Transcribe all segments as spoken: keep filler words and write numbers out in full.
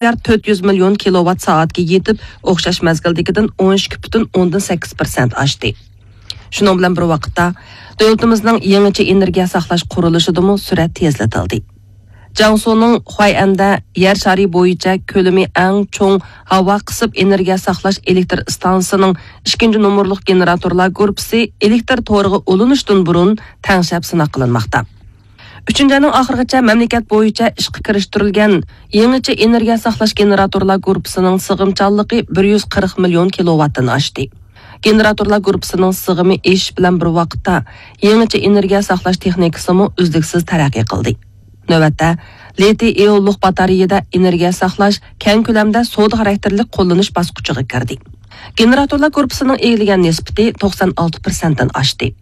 مىليارد تۆت يۈز مىليون كىلوۋات سائەتكە يېتىپ، ئوخشاش مەزگىلدىكىدىن ئون ئىككى پۈتۈن ئوندىن سەككىز پىرسەنت ئاشتى. شۇنىڭ بىلەن بىر ۋاقىتتا، دۆلىتىمىزنىڭ يېڭىچە ئېنېرگىيە ساقلاش قۇرۇلۇشىدىمۇ سۈرئەت تېزلىتىلدى. جياڭسۇنىڭ خۇەيئەندە يەر شارى بويىچە كۆلىمى ئەڭ چوڭ ھاۋا قىسىپ ئېنېرگىيە ساقلاش ئېلېكتر ئىستانسىسىنىڭ ئىككىنچى نومۇرلۇق گېنېراتورلار گۇرۇپپىسى ئېلېكتر تورىغا ئۇلىنىشتىن بۇرۇن تەڭشەپ سىناق قىلىنماقتا. ئۈچىنچى ئاينىڭ ئاخىرىغىچە مەملىكەت بويىچە ئىشقا كىرىشتۈرۈلگەن يېڭىچە ئېنېرگىيە ساقلاش گېنېراتورلار گۇرۇپپىسىنىڭ سىغىمچانلىقى بىر يۈز قىرىق مىليون كىلوۋاتتىن ئاشتى. گېنېراتورلار گۇرۇپپىسىنىڭ سىغىمى ئېشىش بىلەن بىر ۋاقىتتا، يېڭىچە ئېنېرگىيە ساقلاش تېخنىكىسىمۇ ئۈزلۈكسىز تەرەققىي قىلدى. نۆۋەتتە، لىتىي ئىئونلۇق باتارېيىدە ئېنېرگىيە ساقلاش كەڭ كۆلەمدە سودا خاراكتېرلىك قوللىنىش باسقۇچىغا كىردى. گېنېراتورلار گۇرۇپپىسىنىڭ ئىگىلىگەن نىسبىتى توقسان ئالتە پىرسەنتتىن ئاشتى.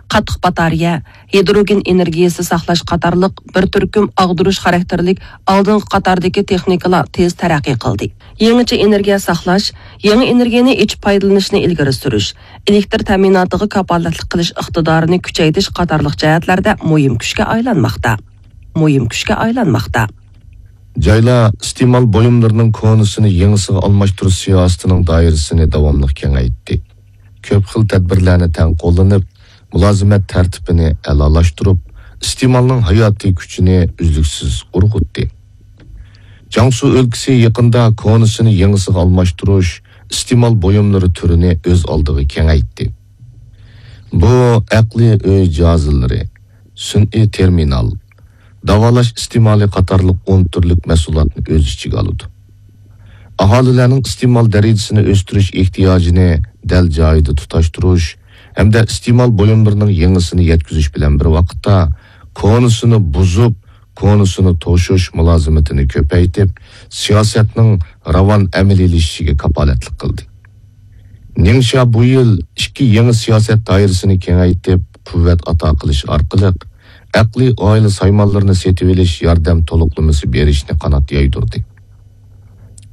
قاتتىق باتارېيە، ھىدروگېن ئېنېرگىيەسى ساقلاش قاتارلىق بىر تۈركۈم ئاغدۇرۇش خاراكتېرلىك ئالدىنقى قاتاردىكى تېخنىكىلار تېز تەرەققىي قىلدى. يېڭىچە ئېنېرگىيە ساقلاش، يېڭى ئېنېرگىيەنى ئېچىپ پايدىلىنىشنى ئىلگىرى سۈرۈش، ئېلېكتر تەمىناتىغا كاپالەتلىك قىلىش ئىقتىدارىنى كۈچەيتىش قاتارلىق جەھەتلەردە مۇھىم كۈچكە ئايلانماقتا. مۇھىم كۈچكە ئايلانماقتا. جايلار ئىستېمال بۇيۇملىرىنىڭ كونىسىنى يېڭىسىغا ئالماشتۇرۇش سىياسىتىنىڭ دائىرىسىنى داۋاملىق كېڭەيتتى. كۆپ خىل تەدبىرلەرنى تەڭ قوللىنىپ، مۇلازىمەت تەرتىپىنى ئەلالاشتۇرۇپ، ئىستېمالنىڭ ھاياتىي كۈچىنى ئۈزلۈكسىز ئۇرغۇتتى. جياڭسۇ ئۆلكىسى يېقىندا كونىسىنى يېڭىسىغا ئالماشتۇرۇش ئىستېمال بۇيۇملىرى تۈرىنى ئۆز ئالدىغا كېڭەيتتى. بۇ ئەقلىي ئۆي جاھازلىرى، سۈنئىي تېرمىنال، داۋالاش ئىستېمالى قاتارلىق ئون تۈرلۈك مەھسۇلاتنى ئۆز ئىچىگە ئالىدۇ. ئاھالىلەرنىڭ ئىستېمال دەرىجىسىنى ئۆستۈرۈش ئېھتىياجىنى دەل جايىدا تۇتاشتۇرۇش ھەمدە ئىستېمال بۇيۇملىرىنىڭ يېڭىسىنى يەتكۈزۈش بىلەن بىر ۋاقىتتا، كونىسىنى بۇزۇپ، كونىسىنى توشۇش مۇلازىمىتىنى كۆپەيتىپ، سىياسەتنىڭ راۋان ئەمەلىيلىشىشىگە كاپالەتلىك قىلدى. نىڭشيا بۇ يىل ئىككى يېڭى سىياسەت دائىرىسىنى كېڭەيتىپ، قۇۋۋەت ئاتا قىلىش ئارقىلىق، ئەقلىي ئائىلە سايمانلىرىنى سېتىۋېلىش ياردەم تولۇقلىمىسى بېرىشنى قانات يايدۇردى.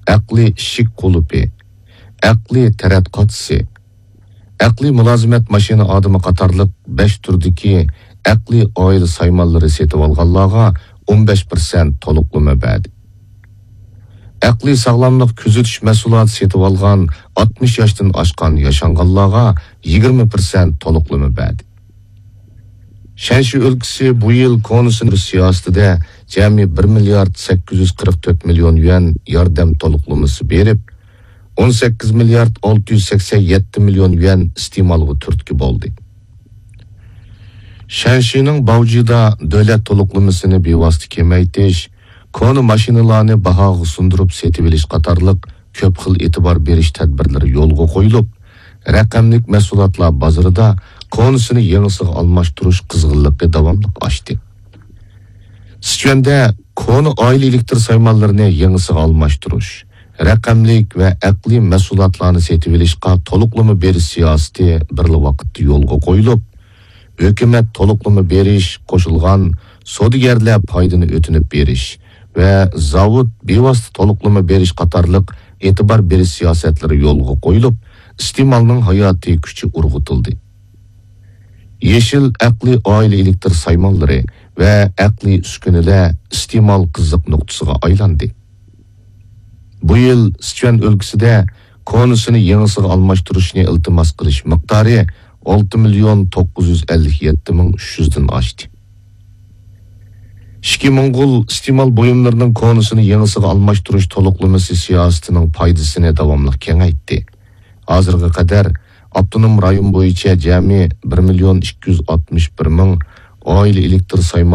ئەقلىي ئىشىك قۇلۇپى، ئەقلىي تەرەت قاچىسى، ئەقلىي مۇلازىمەت ماشىنا ئادىمى قاتارلىق بەش تۈردىكى ئەقلىي ئائىلە سايمانلىرى سېتىۋالغانلارغا ئون بەش پىرسەنت تولۇقلىما بەردى. ئەقلىي ساغلاملىق كۆزىتىش مەھسۇلاتى سېتىۋالغان ئاتمىش ياشتىن ئاشقان ياشانغانلارغا يىگىرمە پىرسەنت تولۇقلىما بەردى. شەنشى ئۆلكىسى بۇ يىل كونىسىنى سىياسىتىدە جەمئىي بىر مىليارد سەككىز يۈز قىرىق تۆت مىليون يۈەن ياردەم تولۇقلىمىسى بېرىپ، ئون سەككىز مىليارد ئالتە يۈز سەكسەن يەتتە مىليون يۈەن ئىستېمالغا تۈرتكە بولدى. شەنشىنىڭ باۋجىدا دۆلەت تولۇقلىمىسىنى بىۋاسىتە كېمەيتىش، كونا ماشىنىلارنى باھاغا سۇندۇرۇپ سېتىۋېلىش قاتارلىق كۆپ خىل ئېتىبار بېرىش تەدبىرلىرى يولغا قويۇلۇپ، رەقەملىك مەھسۇلاتلار بازىرىدا كونىسىنى يېڭىسىغا ئالماشتۇرۇش قىزغىنلىقى داۋاملىق ئاشتى. سىچۈەندە كونا ئائىلە ئېلېكتر سايمانلىرىنى يېڭىسىغا ئالماشتۇرۇش، رەقەملىك ۋە ئەقلىي مەھسۇلاتلارنى سېتىۋېلىشقا تولۇقلىما بېرىش سىياسىتى بىرلا ۋاقىتتا يولغا قويۇلۇپ، ھۆكۈمەت تولۇقلىما بېرىش، قوشۇلغان سودىگەرلەر پايدىنى ئۆتۈنۈپ بېرىش ۋە زاۋۇت بىۋاسىتە تولۇقلىما بېرىش قاتارلىق ئېتىبار بېرىش سىياسەتلىرى يولغا قويۇلۇپ، ئىستېمالنىڭ ھاياتىي كۈچى ئۇرغۇتۇلدى. يېشىل ئەقلىي ئائىلە ئېلېكتر سايمانلىرى ۋە ئەقلىي ئۈسكۈنىلەر ئىستېمال قىزىق نۇقتىسىغا ئايلاندى. بۇ يىل سىچۈەن ئۆلكىسىدە كونىسىنى يېڭىسىغا ئالماشتۇرۇشنى ئىلتىماس قىلىش مىقدارى ئالتە مىليون توققۇز يۈز ئەللىك يەتتە مىڭ ئۈچ يۈزدىن ئاشتى. ئىچكى موڭغۇل ئىستېمال بۇيۇملىرىنىڭ كونىسىنى يېڭىسىغا ئالماشتۇرۇش تولۇقلىمىسى سىياسىتىنىڭ پايدىسىنى داۋاملىق كېڭەيتتى. ھازىرغا قەدەر ئاپتونوم رايون بويىچە جەمئىي بىر مىليون ئىككى يۈز ئاتمىش بىر مىڭ ئائىلە ئېلېكتر سايمان